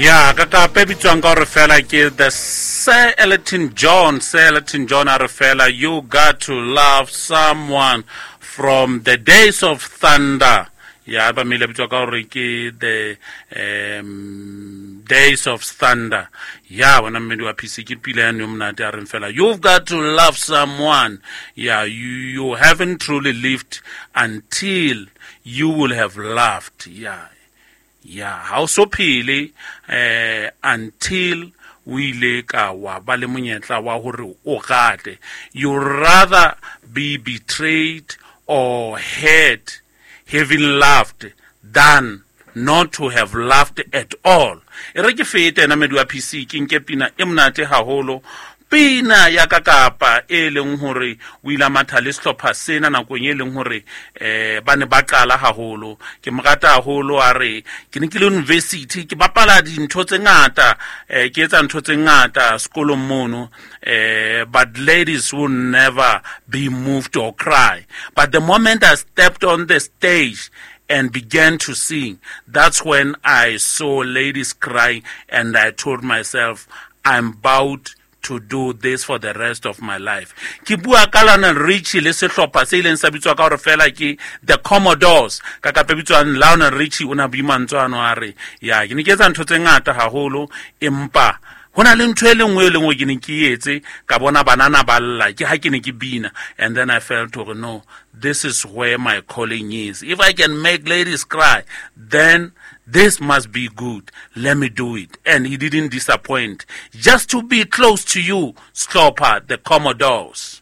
Ya ka kape bitswang ka gore fela ke the Sir Elton John. Sir Elton John a re fela, "You got to love someone," from The Days of Thunder. Ya ba mele bitswa ka gore ke The Days of Thunder. Ya bona mmedi wa PC ke pila ya neo monate a reng fela, "You've got to love someone." Yeah, you haven't truly lived until you will have loved. Yeah, ha o so phele until o ile ka wa ba le monyetla wa hore o gate. You rather be betrayed or hurt having loved than not to have loved at all. E re ke fete ena medi wa PC, ke nke pina e monate haholo, pina ya ka kapa e leng hore o ile a matha le sehlopha sena nakong e leng hore ba ne ba qala haholo. Ke mo rata haholo. A re ke ne ke le university, ke bapala dintho tse ngata, ke etsa ntho tse ngata sekolong mono, but ladies will never be moved or cry. But the moment I stepped on the stage and began to sing, that's when I saw ladies crying, and I told myself, "I'm about to do this for the rest of my life." Ke bua ka Lionel Richie le sehlopha se ileng sa bitswa ka hore fela ke The Commodores. Ka kape bitswang Lionel Richie o na bue mantswe ano, a re ya ke ne ke etsa ntho tse ngata haholo, empa ho na le ntho e le nngwe e le nngwe ke ne ke etse ka bona banana ba lla ke ha ke ne ke bina. And then I felt hore no, this is where my calling is. If I can make ladies cry, then this must be good. Let me do it. And he didn't disappoint. Just to Be Close to You, Slopper, The Commodores.